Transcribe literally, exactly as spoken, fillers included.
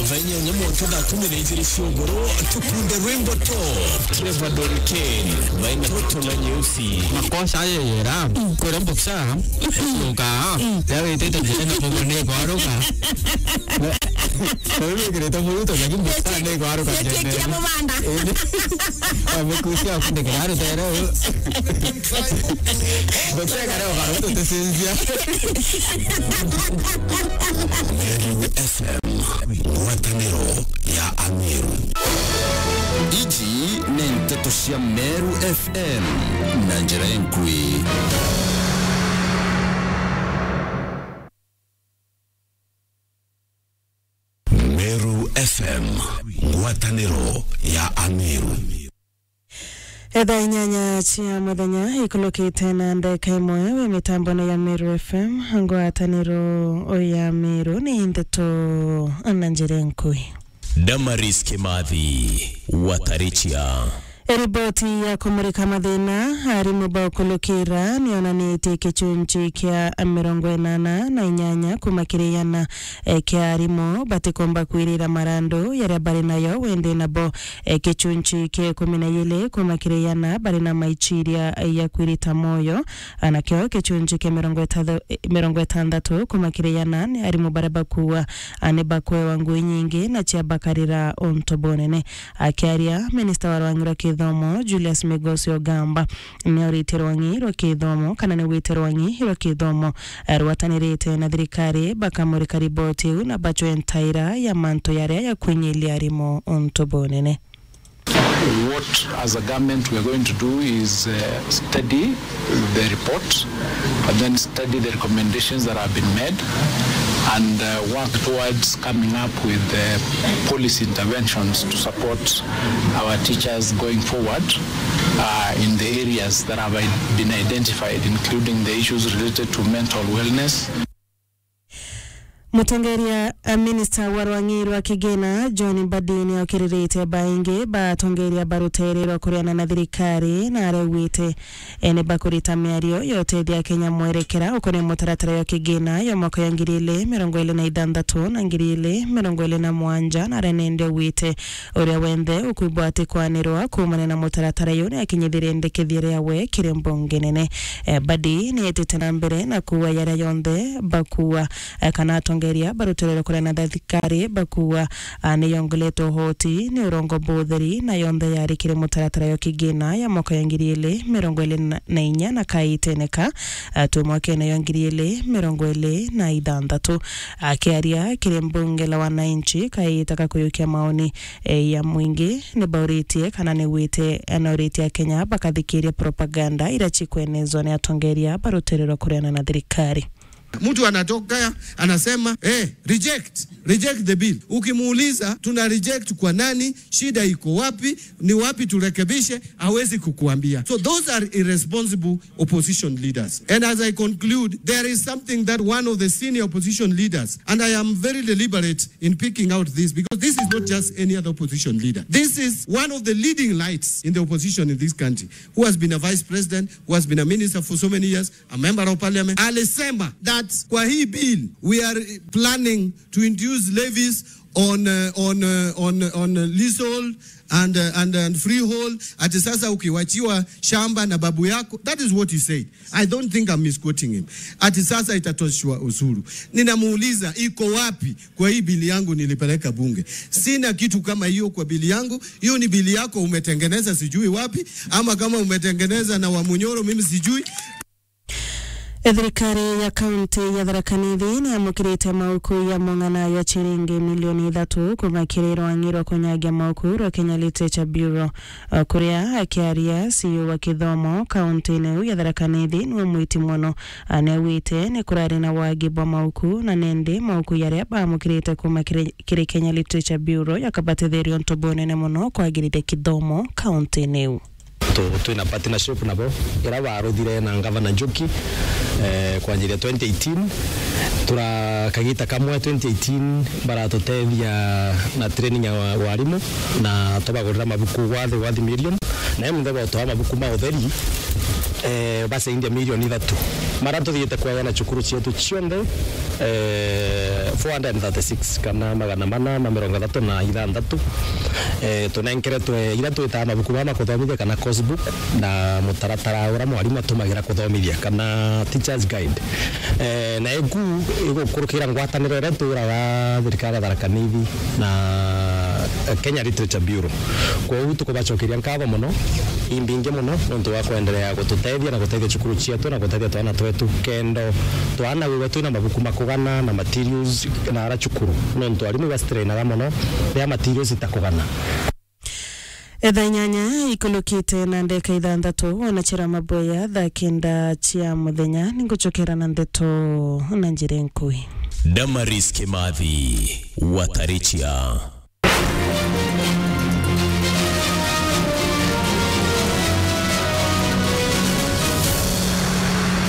Thaa inyanya mwanka thaa kumi na ijiri cia ugoro, tukunde rwimbo to Trevor Don Kane, baina roto na nyeusi. Makosa ayo yera, kwera mboksa, yoka, ya wetete njira na mugo ni kwaruka. Na wewe kireta muruto, lakini mboksa ni kwaruka. Kira mubanda. Amekusia kunde kiraro tero. Mboksa kare ukaruto tesinzia. Meru F M, ngwataniro ya Ameru. Iji ni nteto cia Meru F M na njira enkui. Meru F M, ngwataniro ya Ameru. Etha inyanya cia muthenya ikulukite na ndeka imwe wi mitambone ya Meru F M, ngwataniro ya Meru ni ndeto na njira nkui. Damaris Kimathi, Watarichia. Riboti ya kumurika mathina arimu baukulukira nionanitie gichunchi kia mirongo inana na inyanya kuma kiri iana, eh, kia arimu batikomba kwirira marandu yaria bari nayo wende nabo. E, gichunchi kia ikumi na ijiri kuma kiri iana bari na maichiria ya kwirita moyo, a, nakio gichunchi kia mirongo itatha-, mirongo itandatu kuma kiri iana ni arimu baria bakua, a, ni bakwewa ngui nyingi na cia bakarira untu bunene. Akiaria, minista wa rwang'i rwa kithomo, Julius Migosi Ogamba, ni auritie rwang'i rwa kithomo kana ni wite rwang'i rwa kithomo, eh, rwatanirite na thirikari bakamurika riboti iu na bachwe ntaira ya mantu yaria ya kwinyilia arimu untu bunene. What, as a government, we are going to do is, uh, study the report and then study the recommendations that have been made and, uh, work towards coming up with, uh, policy interventions to support our teachers going forward, uh, in the areas that have i-, been identified, including the issues related to mental wellness. Mutongeria, a, minista wa rwang'i rwa kigina, John Mbadi, ni okiririte baingi ba atongeria ba rutere rwa kuriana na thirikari, na araugite, e, ni bakurita miario ya utethia Kenya mwerekera ukonie mutaratara ya kigina ya mwaka ya ngiri ili mirongo ili na ithanthatu na ngiri ili mirongo ili na mwanja, na arenende augite, uria wenthe ukwibwa atikwanirwa kuumania na mutaratara uyu ni akinyithirie ndikithia riawe kiri mbunge nene. Eh, Mbadi ni etite na mbere na kuuga yaria yonthe bakuuga, eh, kana atongeria ba rutere rwa kuriana na thirikari bakuuga, ah, ni yongeretwe uhoti ni urongo butheri na yonthe yari kiri mutaratara yo kigina ya mwaka ya ngiri ili mirongo ili na inya na kaitene ka, ah, tu mwakene yo ngiri ili mirongo ili na ithanthatu. Akiaria kiri mbunge la wananchi kaita ka kuyukia maoni, eh, ya mwingi, ni bauritie kana ni wite, eh, na uritie Akenya bakathikiria propaganda iria cikwenezwa ni atongeria ba rutere rwa kuriana na thirikari. Mtu anatoka anasema, eh, reject, reject the bill. Ukimuuliza, "Tuna reject kwa nani? Shida iko wapi? Ni wapi turekebishe?" Hawezi kukuambia. So those are irresponsible opposition leaders. And as I conclude, there is something that one of the senior opposition leaders, and I am very deliberate in picking out this because this is not just any other opposition leader. This is one of the leading lights in the opposition in this country, who has been a vice president, who has been a minister for so many years, a member of parliament, alisema that kwa hii bill, we are planning to introduce levies on, uh, on, uh, on, on, uh, leasehold and, uh, and, and freehold. Ati sasa ukiwachiwa shamba na babu yako, that is what he said. I don't think I'm misquoting him. Ati sasa itatoshwa ushuru. Ninamuuliza, iko wapi kwa hii bili yangu nilipeleka bunge? Sina kitu kama hiyo kwa bili yangu. Hiyo ni bili yako umetengeneza sijui wapi, ama kama umetengeneza na Wamunyoro, mimi sijui. Thirikari ya kaunti ya Tharaka Nithi ni yamukirite mauku ya mung'ana ya chiringi milioni ithatu kuma kiri rwang'i rwa kunyagia mauku rwa Kenya Literature Bureau. O kuria akiaria, C E O wa kithomo kaunti-ini iu ya Tharaka Nithi niwe mwiti mono. Anewite ni kurari na wagi bwa mauku na nendi mauku yaria bamukirite kuma kiri, kiri Kenya Literature Bureau yakabatetheria untu bunene mono kwagirithia kithomo kaunti-ini iu. Tu-, twina partnership nabo, ira baruthire na Ngavana Njuki, eh, kwanjiria twenty eighteen. Tura kagita kamwe twenty eighteen baratutethia na training ya wa-, warimu, na tubagurira mabuku worth, worth million. Na imwe nthego twa mabuku ma utheri, eh, basaidia milioni ithatu. Mara tuthiite kweana cukuru cietu cionthe, eh, four hundred and thirty-six kana magana mana ma mirongo ithatu na ithanthatu. Eh, tunenkeretwe ira twitaga mabuku mama kuthomithia kana course book na mutaratara ura mwarimu atumagira kuthomithia kana teacher's guide. Eh, na iku igukurukira ngwataniro iria twiraga thirikari ya Tharaka Nithi na Kenya Literature Bureau. Kwoou tukubacokeria nkatho mono, imbingi mono nontu wa kwenderea gututethia na gutethia cukuru cietu na gutethia twana twetu kendo twana wiwe twina mabuku makugana na materials na ara cukuru, nontu arimu ibastrainaga mono ria materials itakugana. Etha inyanya ikulukite na ndeka ithanthatu, ona chira maboya thaa kenda cia muthenya, ningucokera na ndeto na njira nkui. Damaris Kimathi, Watarichia.